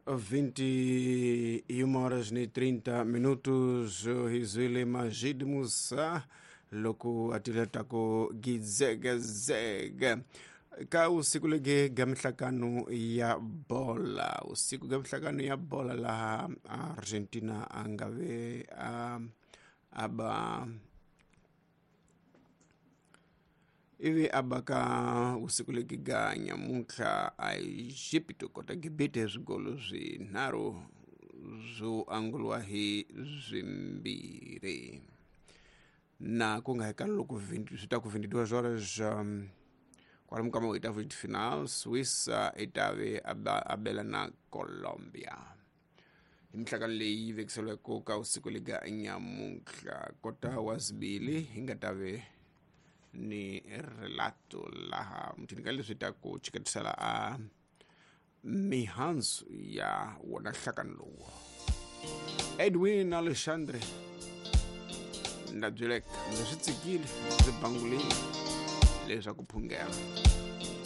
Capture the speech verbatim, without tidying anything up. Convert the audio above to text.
vinte e uma horas e trinta minutos hizwile Majid Musa loko atiletako gizegezege ka usiku lege ga mihlakano ya bola usiku ga mihlakano ya bola laha Argentina angave a aba ivi abaka usiku legi ga nyamuntlha a Egipto kota gibite swigolo swinharhu swo angulwa hi swimbirhi na ku nga hekalo loko swi ta ku vinte e duas horas um, kwalomu ka maoitavo de final Suíça i ta ve abela na Colombia hi mihlakano leyi vekiseliweke ka usiku lega nyamuntlha kota wa zibili hi nga ta ve ni relato laha mthini ka leswi ta ku chiketisela a mihandzu ya wona nhlakano lowu Edwin Alexandre nda byeleka ndzi swi tsikile ndzi bangulile leswaku phungela.